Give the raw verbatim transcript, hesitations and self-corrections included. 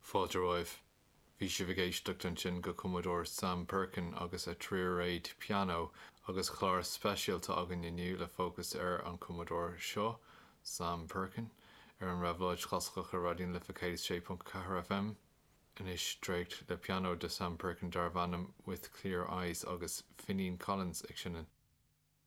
Fáilte romhaibh. Bhí sibh ag éisteacht ansin go cumadóir Sam Perkin agus a tríréad pianó agus clár speisialta againn inniu le fócas ar an cumadóir seo Sam Perkin ar an Réabhlóid Chlasaiceach ar Raidió na Life céad sé ponc ceathair FM. Anois dréacht le pianó de Sam Perkin darb ainm with Clear Eyes agus Finghin Collins ag seinm.